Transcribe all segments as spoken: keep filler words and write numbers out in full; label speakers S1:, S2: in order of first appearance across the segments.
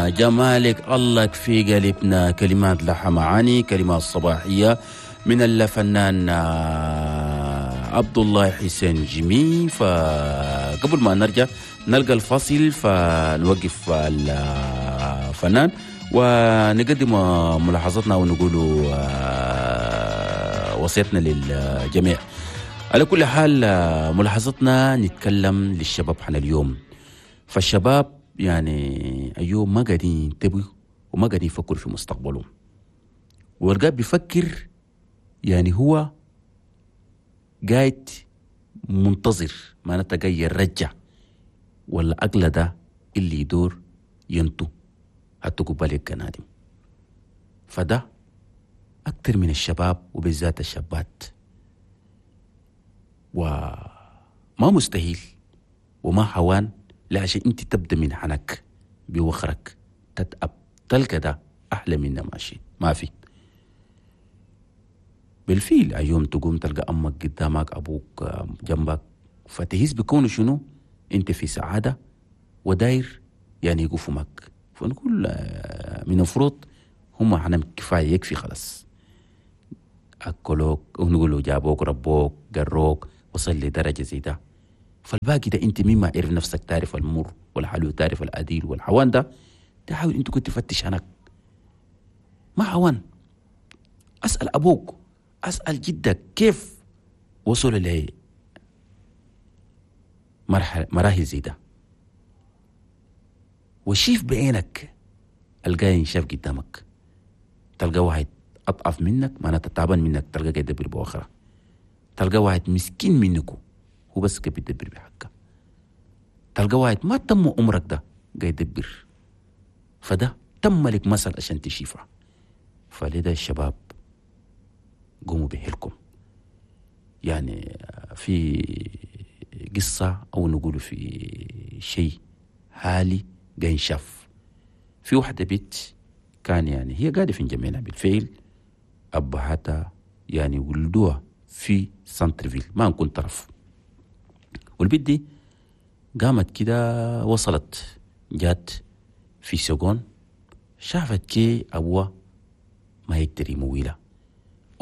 S1: جمالك الله في قلبنا. كلمات لها معاني، كلمات صباحية من الفنان عبد الله حسين جيمي. فقبل ما نرجع نلقى الفاصل فنوقف الفنان ونقدم ملاحظتنا ونقول وصيتنا للجميع. على كل حال ملاحظتنا نتكلم للشباب حنا اليوم. فالشباب يعني اليوم ما قاعدين ينتبهوا وما قاعدين يفكروا في مستقبلهم، والقاعد بيفكر يعني هو قاعد منتظر معناتها جاي يرجع ولا أقل ده اللي يدور ينتو حتى قبالك كنادم. فده أكتر من الشباب وبالذات الشابات، وما مستحيل وما حوان لا عشان انت تبدا من حنك بوخرك تتأب تلقى ده أحلى منا ماشي ما في. بالفيل اليوم تقوم تلقى أمك قدامك أبوك جنبك، فتهز بكونه شنو انت في سعادة وداير يعني يقفوا معك. فنقول من المفروض هم حنم كفاية يكفي خلاص، أكلوك ونقولوا جابوك ربوك قروك وصل لدرجة زي ده. فالباقي ده انت مما عرف نفسك تعرف المر والحلو تعرف الأديل والحوان ده تحاول انت كنت تفتش هناك ما حوان. أسأل أبوك أسأل جدك كيف وصل ل مرحلة مراحل زي ده، وشيف بعينك الجاي شاف قدامك. تلقى واحد أضعف منك معناته تعبان منك تلقى قاعد يدبر بأخرى، تلقى واحد مسكين منكو هو بس قاعد يدبر بحقه، تلقى واحد ما تم عمرك ده قاعد يدبر. فده تم لك مثل عشان تشيفه. فلذا الشباب قوموا بحيلكم. يعني في قصة أو نقول في شيء حالي قاعد شاف في واحدة بيت كان يعني هي قاعدة في جميلة بالفعل، أبهاتها يعني ولدوها في centre-ville ما نكون طرف. والبيت دي قامت كده وصلت جات في seconde شافت كي أبوها ما يقدر يمويلها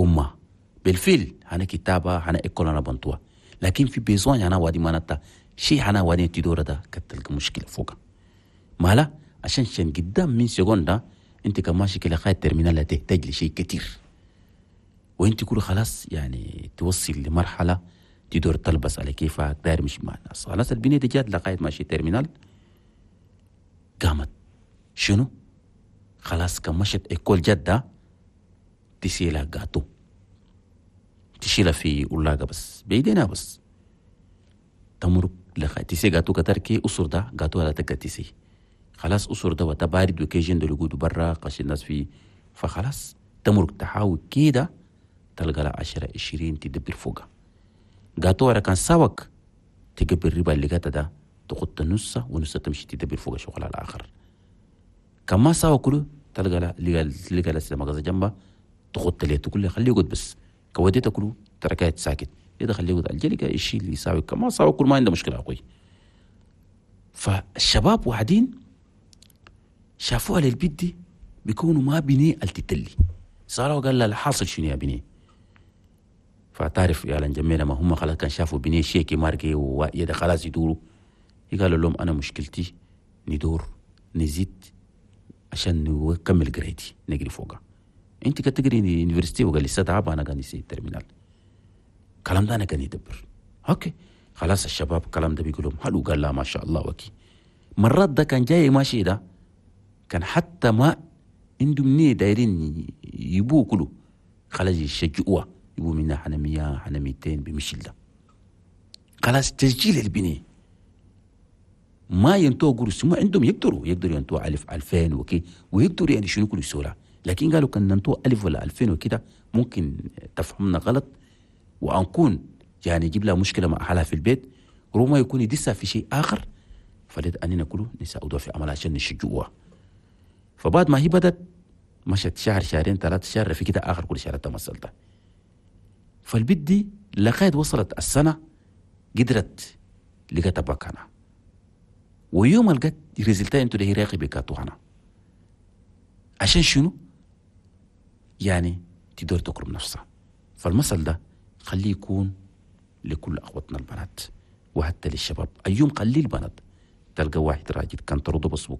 S1: أمها بالفعل هنا كتابة هنا école أنا بنتوها، لكن في besoin أنا وادي ما نتا شيء هنا وادي تدور ده كتلقى مشكلة فوقها مالا عشان شن قدام من seconde ده انت كماشي كده لغاية terminale تحتاج لشيء كتير، وانت كله خلاص يعني توصل لمرحلة تدور تلبس على كيفك داير مش مع الناس. خلاص البنية دي جات لغاية ماشي terminale قامت شنو خلاص كمشت école جدة تشيلها جاتو تشيلها في ولاقة بس بيدينا بس تمرق لغاية تسي جاتو كتركي أسر ده جاتو على تقى تسي خلاص أسر ده وتبارد وكيجن ده لقود برا قش الناس فيه. فخلاص تمرق تحاول كده تلقى لها عشرة عشرين تدبر فوقها جاتو ورا كان ساوك تقبل الربا اللي جاتا ده تقط نصه ونصه تمشي تدبر فوق شغلها الآخر. كما ساوى كله تلقى لها لقى لها مغازة جنبها تقط ليه تقول له خليه يقعد بس كوديته كله تركات ساكت إذا خليه يقعد الجلقة الشيء اللي يساوي كما ساوى كل ما عنده مشكلة أخوي. فالشباب وحدين شافوها للبيت دي بيكونوا ما بني التتلي صاروا قال لا الحاصل شنو يا بني. فتعرف يا لنجمينا ما هم خلاص كان شافوا بني شيكي ماركي ويدا خلاص يدوروا قالوا لهم أنا مشكلتي ندور نزيد عشان نكمل قرايتي نجري فوقها. انت كنت تقري université وقال لي ستعب انا كان يسي terminale الكلام ده انا كان يدبر OK خلاص. الشباب الكلام ده بيقولوا حلو قال لا ما شاء الله وكي مرات ده كان جاي ماشي ده كان حتى ما عندهم نية دايرين يبوه كله خلاص يشجعوه يبوا منا حنا مية حنا ميتين بمشي ده خلاص تسجيل البنية ما ينتو قرص ما عندهم يقدروا يقدروا ينتو ألف ألفين وكي ويقدروا يعني شنو كل سورة. لكن قالوا كان ننتو ألف ولا ألفين وكده ممكن تفهمنا غلط وأنكون يعني يجيب لها مشكلة مع أهلها في البيت ربما يكون يدسها في شيء آخر. فلذا أننا كله نساعدوها في عملها عشان نشجعوها. فبعد ما هي بدت مشت شهر شهرين ثلاثة شهر في كده آخر كل شهر تمثلتها. فالبيت دي لغاية وصلت السنة قدرت لقت بكانها ويوم لقت résultat انتو ده راقي بكاتو هنا عشان شنو؟ يعني تدور تكرم نفسها. فالمثل ده خليه يكون لكل أخوتنا البنات وحتى للشباب. أيوم خلي البنات تلقى واحد راجل كان طرده بسبق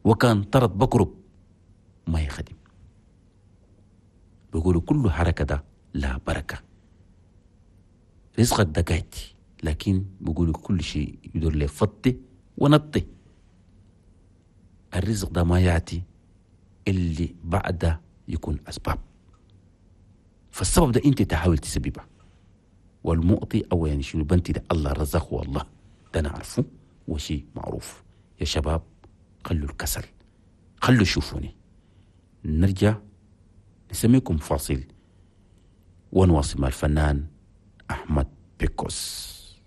S1: وكان طرد بقرب ما يخدم. بيقولوا كل حركة ده لا بركة، رزقك ده قاعد، لكن بيقولوا كل شيء يدور له فطي ونطي. الرزق ده ما يأتي اللي بعده يكون أسباب، فالسبب ده أنت تحاول تسببه. والمؤطي أو يعني شنو بنتي ده الله رزقه والله ده نعرفه وشيء معروف. يا شباب خلوا الكسل، خلوا شوفوني. نرجع نسميكم فاصل ونواصل مع الفنان أحمد بيكوس.